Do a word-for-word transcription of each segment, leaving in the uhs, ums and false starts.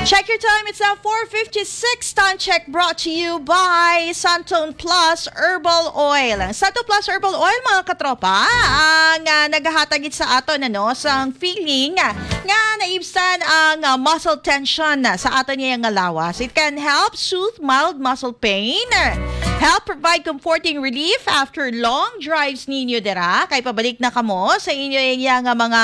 Check your time. It's now four fifty-six. Time check brought to you by Santon Plus Herbal Oil. Ang Santon Plus Herbal Oil, mga katropa, ang ah, naghahatag gid sa aton, ano, sang feeling nga naibsan ang ah, muscle tension sa aton niya nga lawas. It can help soothe mild muscle pain, help provide comforting relief after long drives ninyo dira. Kay pabalik na kamo sa inyo iya nga mga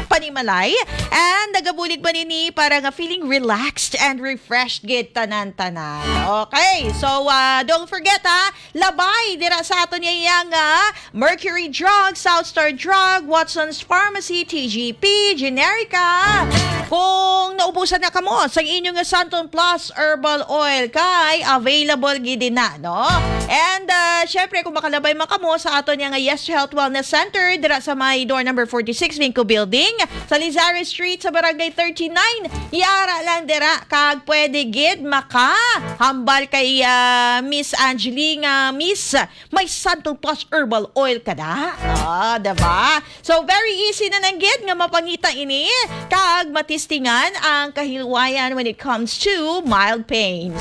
panimalay. And nagabulig man ini para nga feeling relaxed and refreshed gid tanan-tanan. Okay, so ah, don't forget ha, labay dira sa aton iya nga Mercury Drug, South Star Drug, Watson's Pharmacy, T G P, Generica. Kung naubusan na kamo sa inyo nga Santon Plus Herbal Oil, kay available gid na, no? And ah, syempre, kung makalabay man kamo sa aton nga Yes to Health Wellness Center, dira sa may door number forty-six, Vinco Building, sa Lizares Street, sa Barangay thirty-nine, yara lang dira, kag pwede gid makahambal kay ah, Miss Angeline nga, Miss, may Santon Plus Herbal Oil ka na. Ah, diba? So, very easy na lang gid nga mapangita ini kag matistingan ang kahilwayan when it comes to mild pains.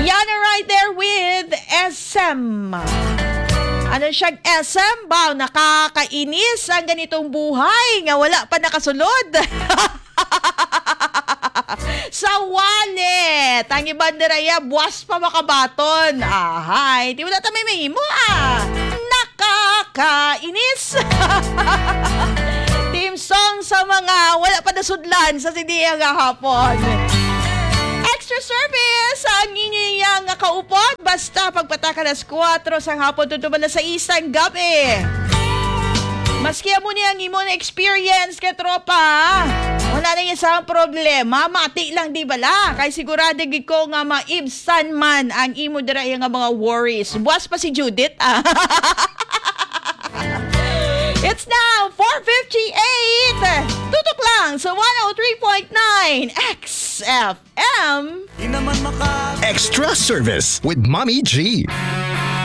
Yana right there with S M. Ano siya, S M? Baw, nakakainis ang ganitong buhay nga wala pa nakasulod. Sa wallet. Ang iban dira iya, buwas pa makabaton. Ahay, di wala ta may mahimo, ah. Nakakainis. Team song sa mga wala pa nasudlan sa sidiya nga hapon. Extra service ang inyo iya nga kaupod. Basta pagpataka alas kuwatro sang hapon, tutuman na sa isang gabi. Maski amo ni ang imo na experience, katropa, wala na isa ang problema. Mati lang, di bala? Kay sigurado gid ko nga maibsan man ang imo dira nga mga worries. Buwas pa si Judith, ah. It's now four fifty-eight. Tutok lang sa one oh three point nine X F M. Di naman maka- Extra service with Mommy G.